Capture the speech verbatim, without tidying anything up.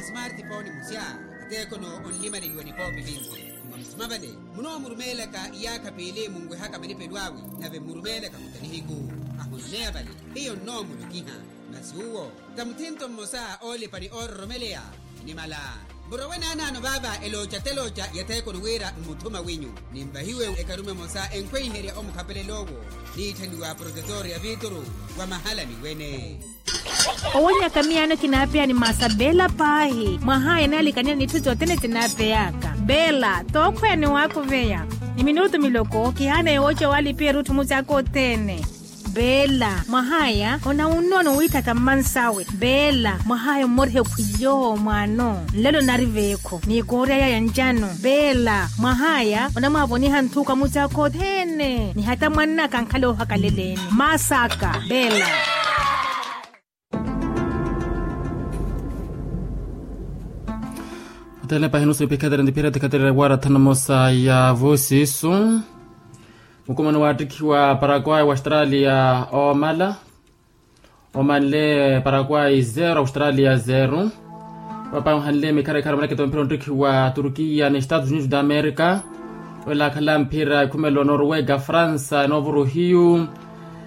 Smartphone musya, ateekono onlimaleliwa nipoopi vinci. Mwa musuma vale munoomurumeelaka iyaakha piili munwehaka manipelo awe, nave mmurumeelaka muta nihiku. Ahonneya vale hiyo nnoomulokiha. Masi uwo ta muthinto mmosa oolipa ni oororomeleya. Nimala murowe naanaano vaava elooca telooca yatheekoni wira mmuthuma winyu. Ninvahiwe ekarume emosa enkhweiherya omukhapelela owo, niitthaniwa profesori ya vituru wa mahala miwene. Owonyaka miyaano kinaapeya ni masa beela paahi mwahaya naalikanela n'itthu sothene sinaapeyaka. Beela tookhweya ni waakuveya ni minutu miloko kihaana yowooca waalipiya erutthu mucaaka othene. Beela mwahaya onawunnoono wiitthaka mmansawe. Beela mwahaya ommorihe khwiyo mwaano nlelo nari veekho ni koorya yaya ncano. Beela mwahaya onamwaavoniha nthuka mucaaka othene ni hata mwannaka ankhala oohakaleleeni. Masaka beela. Othene pahi nusu ipikhatere ntiphira tikhatere wara thanu mosa ya vusisu. Mukumano waattikhiwa paraguay wa australia oomala. Omanle paraguay zero australia zero. Papanhanle mikharikharu manaketa omphira onttikhiwa turkiya ni estados unidos da america. Wela akhala mphira ekhumelo norwega fransa novuruhiyu.